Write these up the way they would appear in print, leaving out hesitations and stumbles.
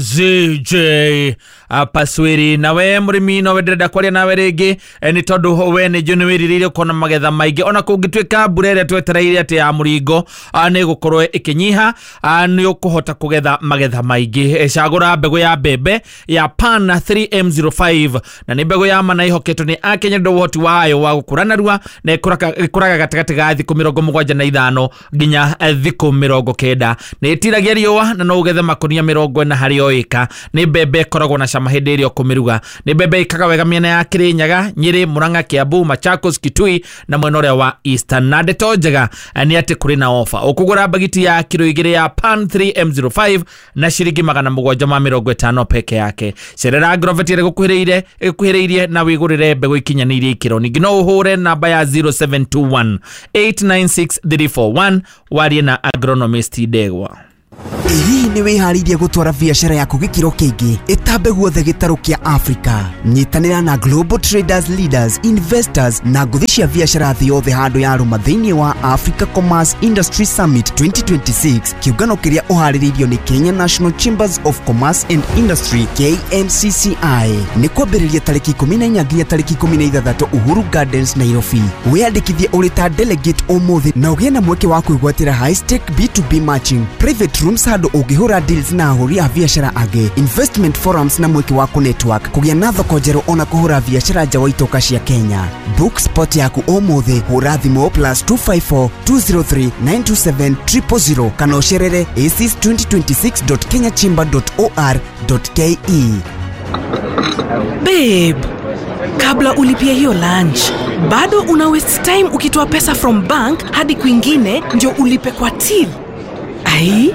ZJ Paswiri nawe mũrĩmi no ndĩrenda kwaria nawe rĩngĩ, nĩ tondũ we nĩ njũĩ nĩ wĩrirĩirie kuona magetha maingĩ, ona kũngĩtuĩka mbura ĩrĩa twetereire atĩ ya mũringo nĩ ĩgũkorwo ĩkĩnyiha, nĩ ũkũhota kũgetha magetha maingĩ. Cagũra mbegũ ya mbembe ya PAN 3M05, na nĩ mbegũ ya mana ĩhoketwo nĩ Akenya nĩ ũndũ wa ũhoti wayo wa gũkũra narua, na ĩkũraga gatagatĩ ga thikũ 75 nginya thikũ 90. Nĩ ĩtiragia riũa na no ũgethe makũnia 40 harĩ o ĩka. Nĩ mbembe ĩkoragwo na cama hĩndĩ ĩrĩa ũkũmĩruga. Nĩ mbembe ĩkaga wega mĩena ya Kĩrĩnyaga, Nyĩrĩ, Murang'a, Kiambu, Machakos, Kitui na mwena ũrĩa wa Eastern. Na ndeto njega nĩ atĩ kũrĩ na ofa, ũkũgũra mbagiti ya kiro 2 ya PAN 3M05 na ciringi 750 peke yake. Cerera Agrovet ĩrĩa ĩgũkuhĩrĩirie na wĩgũrĩre mbegũ ikinyanĩirie ikĩro. Ningĩ no ũhũre namba ya 0721 896 341 warie na agronomist Ndegwa. Hihi nĩ wĩharĩirie gũtwara biacara yaku gĩkĩro kĩngĩ ĩtambe guothe gĩtarũ kĩa Africa? Nyitanĩra na Global Traders Leaders, Investors na ngũthi cia biacara thĩ yothe handũ ya rũma thĩinĩ wa Africa Commerce Industry Summit 2026, kĩũngano kĩrĩa ũharĩrĩirio nĩ Kenya National Chambers of Commerce and Industry KNCCI. Nĩ kwambĩrĩria tarĩki 14 nginya tarĩki 16 Uhuru Gardens, Nairobi. Wĩyandĩkithie ũrĩ ta delegate ũmũthĩ na ũgĩe na mweke wa kwĩgwatĩra high stake B2B matching, private rooms handũ ũngĩhũra deals na ahũri a biacara angĩ, investment forums na mweke wa kũ-network, kũgĩa na thoko njerũ ona kũhũra biacara nja wa itoka cia Kenya. Book spot yaku ũmũthĩ, hũra thimũ +254 203 927 000 kana ũcerere aces2026.kenyachamber.or.ke. Babe, kabla ulipie hiyo lunch, bado una waste time ukitoa pesa from bank hadi kwingine ndio ulipe kwa till. Ai,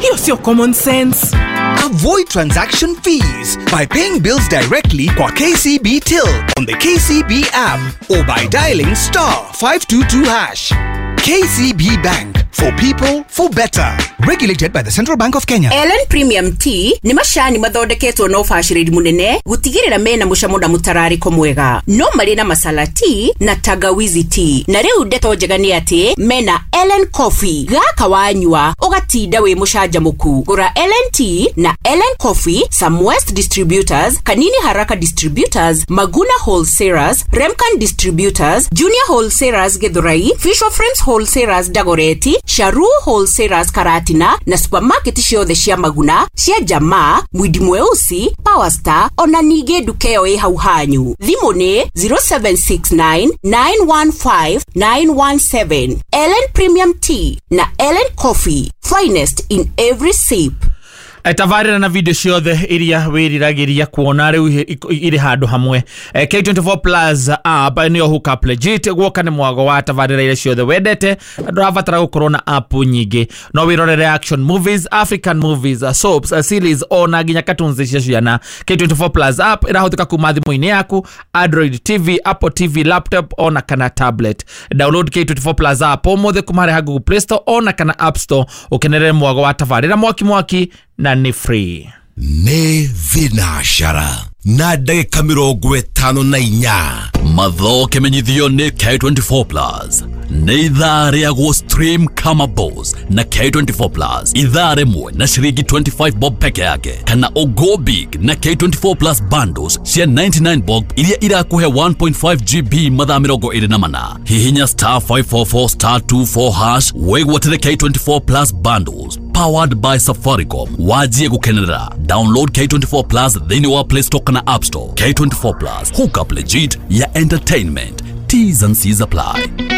hiyo sio common sense. Avoid transaction fees by paying bills directly kwa KCB Till on the KCB app or by dialing *522#. KCB Bank for people for better. Regulated by the Central Bank of Kenya. Ellen Premium Tea nĩ macani mathondeketwo na ũbacĩrĩri mũnene gũtigĩrĩra mena mũcamo na mũtararĩko mwega. No marĩ na masala tea na tangawizi tea. Na rĩu ndeto njega nĩ atĩ mena Ellen Coffee. Gaka wanyua ũgatinda wĩ mũcanjamũku. Gũra Ellen Tea na Ellen Coffee, Samwest Distributors, Kanini Haraka Distributors, Maguna Wholesalers, Remcan Distributors, Junior Wholesalers Githurai, Fisher Frames Wholesalers Dagoretti, Sharu Wholesalers Karatina na supermarket ciothe cia Maguna, cia Jamaa, Mwindi Mweusi, Power Star ona ningĩ nduka ĩyo ĩ hau hanyu. Thimũ nĩ 0769 915 917. Ellen Premium Tea na Ellen Coffee, finest in every sip. Tabarĩra na video ciothe iria wĩriragĩria kuona rĩu irĩ handũ hamwe. K24 Plus app nĩyo hookup legit guoka nĩ mwago wa tabarĩra iria ciothe wendete na ndũrabatara gũkorwo na app nyingĩ. No wĩrorere action movies, African movies, soaps, series ona nginya cartoons cia ciana. K24 Plus app ĩrahũthĩka kuma thimũ-inĩ yaku, Android TV, Apple TV, laptop ona kana tablet. Download K24 Plus app ũmũthĩ kuma harĩ ha Google Play Store ona kana App Store ũkenerere mwago wa tabarĩra mwaki mwaki na nĩ free. Nĩ thinacara na ndagĩka 54. Matho kĩmenyithio nĩ K24 Plus. Nĩ ithaa rĩa gũ stream kama boss na K24 Plus. Ithaa rĩmwe na ciringi 25 bob peke yake, kana ũgo big na K24 Plus bundles cia 99 bob iria irakũhe 1.5 GB mathaa 24. Hihinya *544 *24# wĩgwatĩre K24 Plus bundles powered by Safaricom. Wajie gukenerera. Download K24 Plus thĩinĩ wa Play Store kana App Store. K24 Plus, hook up legit ya entertainment. T's and C's apply.